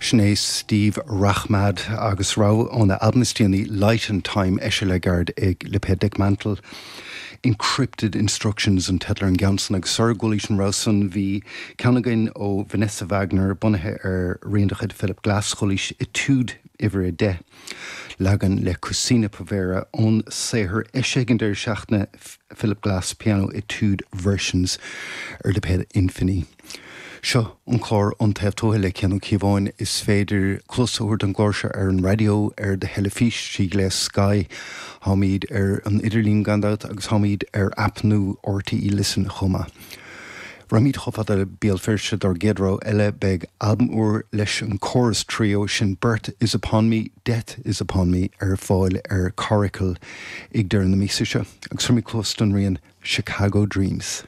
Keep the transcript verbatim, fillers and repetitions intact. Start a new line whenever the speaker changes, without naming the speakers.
Sin é Steve Rachmad agus rogha óna albam is déanaí Light and Time eisithe le gairid ag lipéad Dekmantel. Encrypted Instructions an teideal ar an gceann san agus sara gcualaís an rogha san bhí ceann againn ó Vanessa Wagner bunaithe ar rian de chuid Philip Glass chualaís Etude uimhir a deich. Leagan le Cucina Povera ón saothar eisithe ag an deireadh seachtaine Philip Glass Piano Etude Versions ar lipéad Infini. Seo an clár Ón Taobh Tuaithe le Cian Ó Cíobháin is féidir cluas a thabhairt don gclár seo ar an raidió ar do theilifís trí ghléas Sky, Táimid ar an idirlíon gan dabht agus táimid ar aip nua RTÉ Listen chomh maith. Raghaimid chomh fada le Béal Feirste dár gcéad rogha eile beidh albam úr leis an Chorus Trio sin Birth is upon me, Death is upon me ar fáil ar Coracle ag deireadh na míosa seo, agus tabharfaimid cluas don rian Chicago Dreams.